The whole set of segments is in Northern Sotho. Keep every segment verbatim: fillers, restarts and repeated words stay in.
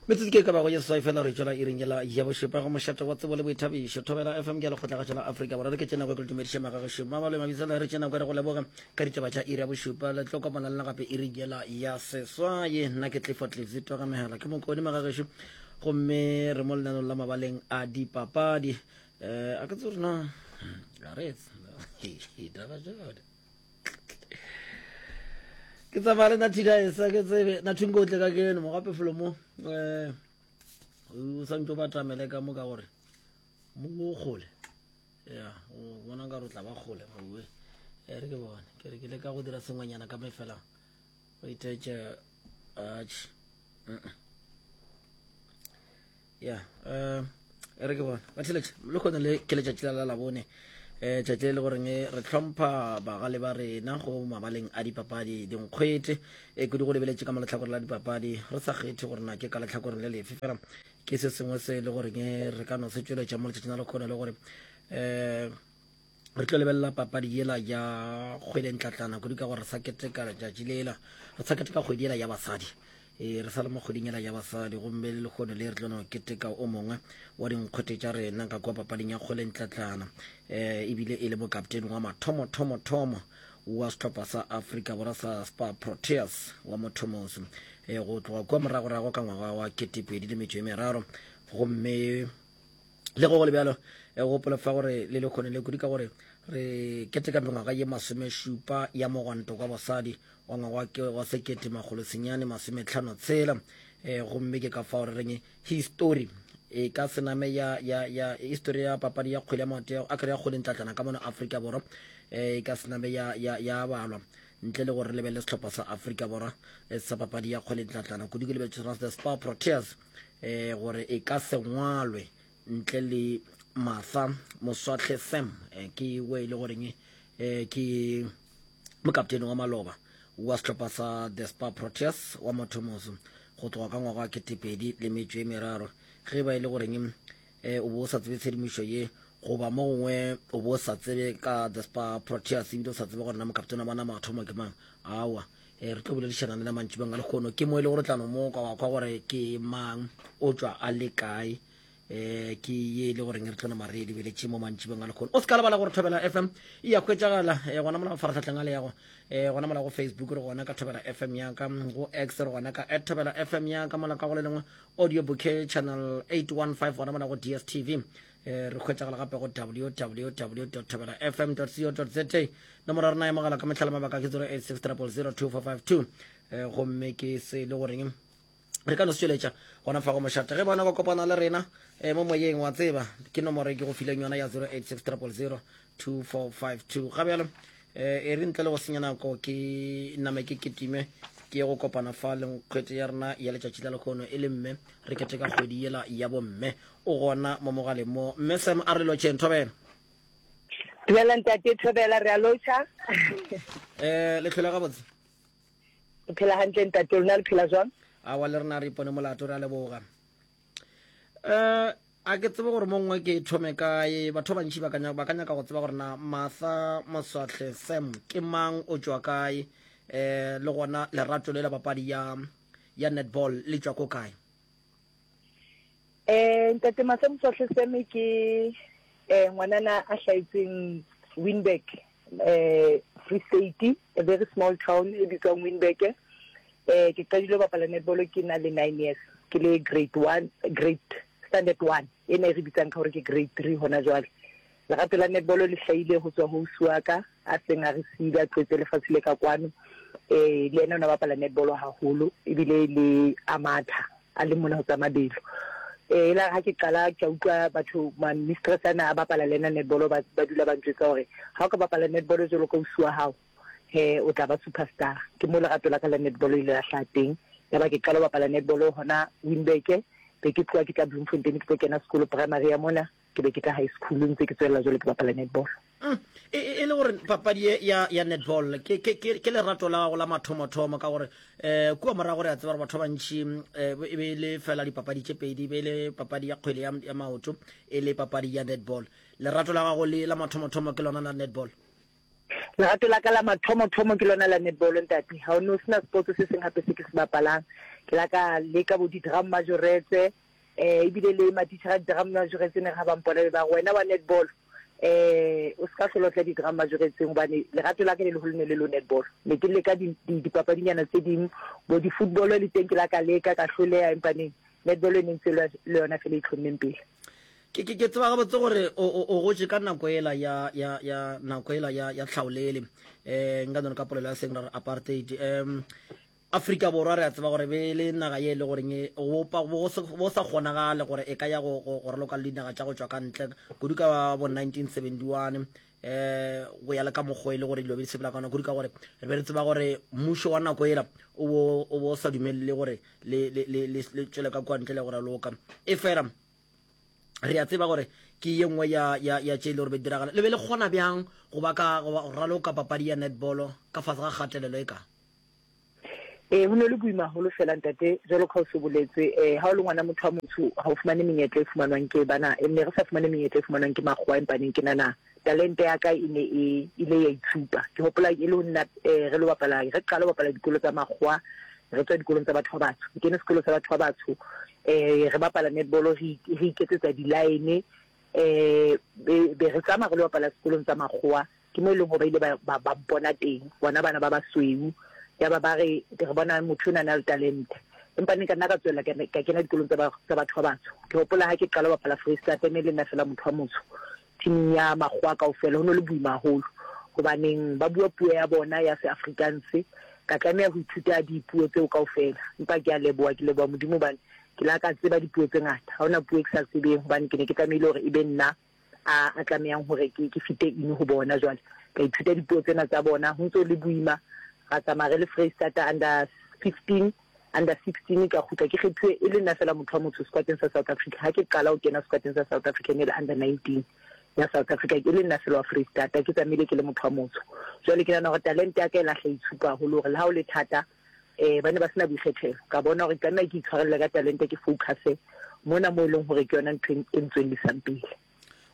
Metsotso ke e ka bago ye seswai fela re tšwela iring yela ya bošupa go mošate wa tsebo le boithabišo Thobela F M ke ya lekgotlagatšo la Afrika Borwa. Re ke tše nako ke le dumediše magagešo Mabalo Mabitsela, re tše nako re go leboga ka ditaba tša iri ya bošupa. Le tlo kopana le nna gape iring yela ya seswai. Nna ke Clifford Livesey Togamegela, ke mokone magagešo, gomme re mo lenanong la mabaleng a dipapadi. Um a ke tsebe gore na a re taba jone ke tsamaya le nathidaesa ke tsebe nathunko o tle ka keno mo gape felo mo um o santse o batamele ka mo ka gore mo o kgole ya o bona nka re o tla ba kgole mowe e re ke bone ke re ke le ka go dira sengwenyana ka mefela o ithetse atšhe ya um e re ke bone batheletše le kgone le ke letšatši la la labone um tšatši le le goreng re hlompha bagale ba rena go mabaleng a dipapadi dinkgwete e kudu go lebeletše ka mo letlhakoreng la dipapadi re sa kgethe gore na ke ka letlhakoreng le lefe fela ke se sengwe se e le goreng re ka no se tšweletša mo letšatšing la lekgone le gore um re tlo lebelela papadi yela ya kgwele ntlatlana kudu ka gore re sa keteka letšatši lela re sa keteka kgwedi yela ya basadi e re sa le mo kgweding yela ya basadi gomme le lehono le re tlo no keteka o mongwe wa dinkgwete tša rena ka kua papading ya kgwele ntlatlana um ebile e le mokaptene wa mathomo thomo thomo wa sehlopha sa Afrika Borwa sa Spar Proteas wa mothomoso e go tloga kua moragorago ka ngwaga wa ketepedi le metšo e meraro gomme le go go le bjalo e gopola fa gore le lekgone le kudu ka gore re keteka mengwaga ye masomešupa ya mogwanto kwa basadi wa ngwaga ke wa sekete makgolo senyane masometlhano tshela um gomme ke ka fao re reng histori e ka se name ya ya ya histori ya papadi ya kgwele ya maoto a kry ya kgwele ntlatlana ka mono Afrika Borwa e ka se name ya ya ya balwa ntle le gore re lebelele sehlopha sa Afrika Borwa sa papadi ya kgwele ntlatlana kudu ke lebeletse sona the Spar Proteas eh gore e ka se ngwalwe ntle le Martha Moswahle Sam eh, ke we e le goreng eh, ke mokaptene wa maloba wa sehlopha sa the Spar Proteas wa mothomoso go tloga ka ngwaga wa ketepedi le metšo e meraro ge ba e le goreng eh, o bo o sa tsebe tshedimošo ye goba mo gongwe o bo o sa tsebe ka the Spar Proteas ebile o sa tsebe gore na mokaptene wa bona mathomo ke mang awa e re tlo boledišana le na mantšibeng a lekgono ke mo e le gore tlano mo kwa wa kwa gore ke mang o tšwa a le kae um ke ye e le goreng re tlo nama re e lebeletše mo mantšibeng a lekgono o se ka lebala gore Thobela F M e ya hwetšagala um gona mola mafaratlhatlheng a le yago um gona mola go Facebook re gona ka Thobela F M yaka go X re gona ka at Thobela F M yaka mola ka go le lengwe audio bouquet channel eight one five gona mola go D S T V eh re hwetšagala gape go www thobela fm co za nomoro ya rena ya mogala ka mehlala mabaka ke zero eight six triple zero two four five two eh gomme ke se le goreng re ka no se tšweletša gona fa go mošate ge bona ba kopana le rena eh, mo moyeng wa tseba ke nomoro e ke go fileng yona ya zero eight six triple zero two four five two ga bjalo eh, e re ntle le go senya nako ke name ke ketime ke go kopana fa le nkgwete ya rena ya letšatši la lekgono e le mme re keteka kgwedi yela ya bomme o gona mo mogaleng mo mme Sam a re lotšheng Thobela. Dumela ntate Thobela, re a lotšha. Eh le tlhola gabotse? Re phela hantle ntate, lona le phela jwang? Awa le rena re ipone molato, re a leboga. Eh a ke tsebe gore mo nngwe ke thome kae, batho ba bantši ba ka ba ka nyaka go tseba gore na Martha Moswahle Sam ke mang, o tšwa kae, eh le gona lerato le la papadi ya ya netball le tšwa ko kae? Eh ntate Martha Moswahle Sam ke eh ngwanana a hlaetseng Winburg eh Free State, a very small town e bitswang Winburg. Eh ke qadile ho bapala netball ke na le nine years, ke le grade one, grade standard one e ne re bitsang ka hore ke grade three hona jwale. Lerato la netball le hlahile ho tswa ho ausi wa ka a seng a re siile a tlohetse lefatshe le ka kwano. Eh le yena o ne a bapala netball haholo ebile le a matha a le mona ho tsa mabelo. Eh la ha ke qala ke utlwa batho ma mistress ana a bapala le ena netball ba ba dula ba ntjwetsa hore ha o ka bapala netball jwalo ka ausi wa hao he o tla ba superstar. Ke mo lerato la ka la netball ile la hlaha teng. Ya ba ke qala ho bapala netball hona Winburg, be ke tloha ke tla Bloemfontein ke tlo kena sekolo primary ya mona, ke be ke tla high school ntse ke tswella jwalo ke bapala netball. Mm. E, e, e le gore papadi ye ya, ya netball ke, ke, ke, ke lerato la gago la mathomothomo ka gore eh, kua morago re a tseba gore batho ba bantši eh, e be e le fela dipapadi tše pedi, e be e le papadi ya kgwele ya, ya maoto e le papadi ya netball. Lerato la gago le la mathomothomo ke lona la netball? Lerato la ka la mathomothomo ke lona la netball ntate. Ha o no sena sports se seng hape se ke se bapalang. Ke la ka leka bo di-drum majoretse, um ebile le matitjhere a di-drum majoretse ne ga ba mpona be ba re wena wa netball um o se ka hlola o tla di-drum majoretseng, hobane lerato la ka le leholo ne le lo netball. Ne ke leka dipapadinyana tse ding, bo di-football le teng ke la ka leka ka hloleha, empa neng netball e ne ntse le yona fela e itlhommeng pele. Ke ke ke tseba gabotse gore o o o gotše ka nako ela ya ya ya nako ela ya ya tlhaolele, eh nka none ka polelo ya seng ra re apartheid. Um Afrika Borwa re a tseba gore be le naga ye e le goreng e go pa bo bo sa kgonagale gore e ka ya go go go raloka le dinaga tša go tšwa ka ntle, kudu ka bo nineteen seventy one, eh go ya le ka mokgwa e le gore dilo be di sepela ka gona, kudu ka gore re be re tseba gore mmušo wa nako ela o bo o bo sa dumelele gore le le le le tšwele ka kwa ntle le go raloka. E fela re a tseba gore ke ye nngwe ya ya ya tše e le gore be diragala. Le be le kgona bjang go ba ka go raloka papadi ya netball ka fase ga kgatelelo e ka? Ee, ho ne le boima haholo fela ntate, jwalo ka o se boletse, eh ha o le ngwana motho wa motsho ha o fumane menyetla e fumanwang ke bana, e ne re sa fumane menyetla e fumanwang ke makgowa, empa neng ke nana talente ya ka e ne e ile ya itshupa. Ke hopola e le ho nna eh re lo bapala, re qala ho bapala dikolo tsa makgowa, re tswa dikolong tsa batho ba batsho. Ke kene sekolo sa batho ba batsho, eh re bapala netball, re re iketsetsa di-line, eh be be re tsamaya re lo bapala sekolong tsa makgowa. Ke mo e leng hore ba ile ba ba ba mpona teng, bona bana ba basweu, ya ba ba re re bona motho ona na le talente. Empa ne ka nna ka tswella ka ka kena dikolong tsa ba tsa batho ba batsho. Ke hopola ha ke qala ho bapala Freistata, ne le nna fela motho wa motsho teaming ya makgowa kaofela. Ho no le boima haholo hobaneng ba bua puo ya bona ya se-Afrikaans, ka tlameha ho ithuta dipuo tseo kaofela. Empa ke a leboha, ke leboha Modimo hobane ke la ka tseba dipuo tse ngata. Ha hona puo e ke sa tsebeng hobane ke ne ke tlamehile hore e be nna a a tlamehang hore ke ke fite in ho bona. Jwale ka ithuta dipuo tsena tsa bona, ho ntso le boima. Ra tsamaya re le Freistata under fifteen, under sixteen, ka kgutla ke kgethuwe e le nna fela motho wa motsho squadeng sa South Africa. Ha ke qala ho kena squadeng sa South Africa ne le under nineteen ya South Africa, ke le nna fela wa Freistata, ke tsamaile ke le motho wa motsho. Jwale ke nahana hore talente ya ka e lahla itshupa haholo hore le ha o le thata, eh ba ne ba sena boikgethelo. Ka bona hore ke tlameha ke itshwarelle ka talente, ke focus mona mo e leng hore ke yona ntho e ntswellisang pele.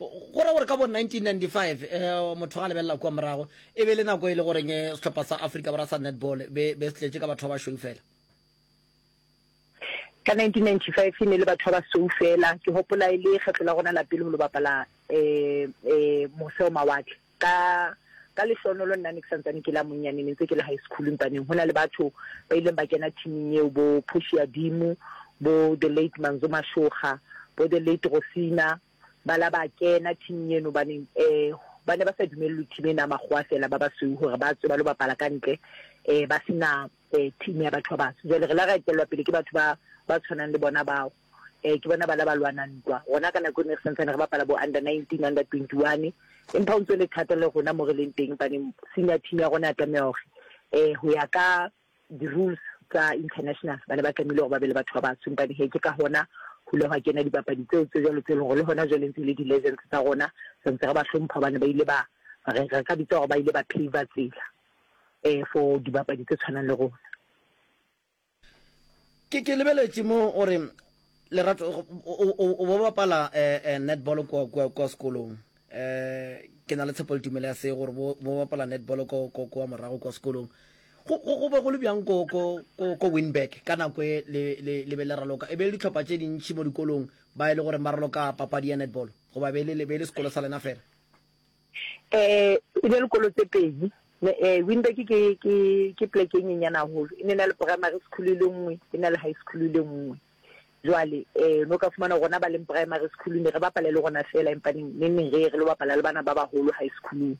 Go ra gore ka bo nineteen ninety-five, eh motho ga lebelela kwa morago, e be le nako e le goreng sehlopha sa Afrika Borwa sa netball be be se tletše ka batho ba basweu fela. Ka nineteen ninety-five e ne le batho ba basweu fela. Ke hopola e le kgetlo la rona la pele ho lo bapala eh eh mose ho mawatle. Ka ka lehlohonolo nna ne ke santsane ke la monyane, ne ntse ke le high school, empaneng ho na le batho ba ileng ba kena teaming eo, bo Portia Dimo, bo the late Manzo Mashoga, bo the late Rosina, ba la ba kena teaming eno baneng eh ba ne ba sa dumellwe team ena makgowa fela ba basweu hore ba tswe ba lo bapala ka ntle, eh ba sena eh team ya batho ba batsho. Jwale re la ra etellwa pele ke batho ba ba tshwanang le bona bao, eh ke bona ba la ba lwana ntwa. Rona ka nako e ne re santsane re bapala bo under nineteen, under twenty-one, empa ho ntso le thata le rona mo re leng teng, hobane senior team ya rona ya tlameha hore eh ho ya ka di-rules tsa international ba ne ba tlamehile hore ba be le batho ba batsho. Empa he ke ka hona ho ile hwa kena dipapadi tseo tse jwalo tse leng hore le hona jwale ntse le di-legends tsa rona, santse re ba hlompha hobane ba ile ba re re ka bitsa hore ba ile ba pave tsela eh for dibapadi tse tshwanang le rona. Ke ke lebeletše mo gore lerato o bo bapala eh netball kwa kwa kwa sekolong. Eh ke na le tshepo le tumelo ya se gore bo bo bapala netball ko ko kwa morago kwa sekolong. Go go be go le bjang ko ko ko ko Winburg ka nako e le le le be le raloka, e be le dihlopha tše dintši mo dikolong ba e le gore ba raloka papadi ya netball, goba be le be le sekolo sa lena fela? Eh e be le kolo tse pedi. Eh Winburg ke ke ke pleke e nyenyane haholo, e ne na le primary school e le nngwe, e na le high school e le nngwe. Jwale eh no ka fumana rona ba leng primary school ne re bapala le rona fela, empa neng neng re re lo bapala le bana ba baholo high school.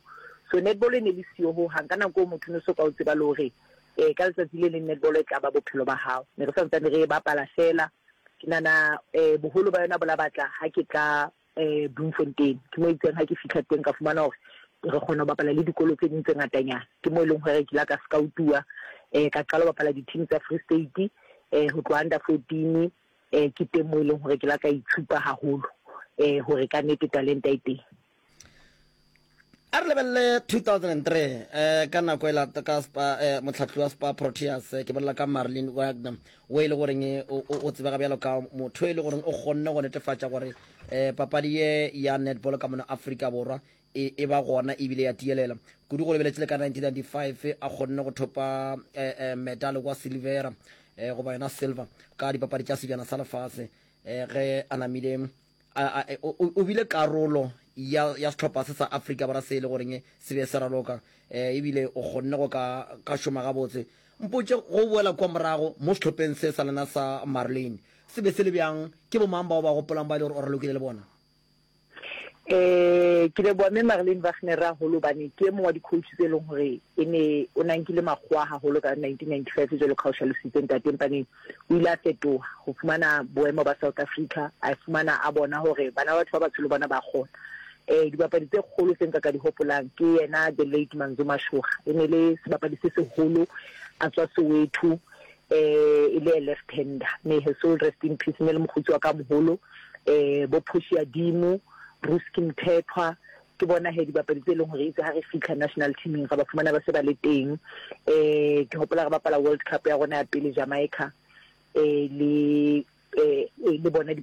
So netball e ne le siyo ho hang ka nako motho no so ka o tseba le hore eh ka letsatsi le leng netball e tla ba bophelo ba hao. Ne re santsane re bapala fela. Ke nana eh boholo ba yona bo la batla ha ke tla eh Bloemfontein. Ke mo itseng ha ke fihla teng ka fumana hore re kgona ho bapala le dikolo tse ding tse ngatanyana. Ke mo e leng hore ke la ka scout-uwa, eh ka qala ho bapala di-team tsa Free State, eh ho tloha under fourteen, eh ke teng mo e leng hore ke la ka itshupa haholo, eh hore ka nnete talente e teng. A re lebelele two thousand and three, eh ka nako e la ka Spa, eh motlhatli wa Spa Proteas, ke bolela ka Marlene Wagner, o e le goreng o o tsebega bjalo ka motho e le goreng o kgonne go netefatša gore eh papadi ye ya netball ka mona Afrika Borwa e e ba gona ebile ya tielela kudu. Go lebeletse le ka nineteen ninety-five a kgonne go thopa eh, eh, medal kwa silvera, um goba yona silver ka dipapadi tša Sebjana sa Lefase um ge a namile o bile karolo ya ya sehlopha se sa Afrika Borwa se e le goreng se be se raloka um ebile o kgonne go ka ka šoma gabotse. Mpotše go boela kwa morago mo sehlopheng se sa lena sa Marlene se be se le bjang, ke bomang bao ba gopolang ba e le gore o ralokile le bona? Eh ke leboha mme Marlene Wagner haholo hobane ke e mong wa di-coach tse leng hore e ne o na nkile makgowa haholo ka nineteen ninety five jwalo ka ha o hlalositse ntate empaneng o ile a fetoha ho fumana boemo ba South Africa a fumana a bona hore bana ba batho ba batsho le bona ba kgona. Eh dibapadi tse kgolo tse nka ka di hopolang ke yena the late Manzo Mashoga e ne le sebapadi se seholo a tswa Soweto eh e le a left hander may her soul rest in peace ne le mokgotsi wa ka moholo eh bo Portia Dimo Ruski Mthethwa ke bona he dibapadi tse leng hore itse ha re fihla national teaming ra ba fumana ba se ba le teng eh ke hopola re bapala World Cup ya rona ya pele Jamaica eh le eh le bona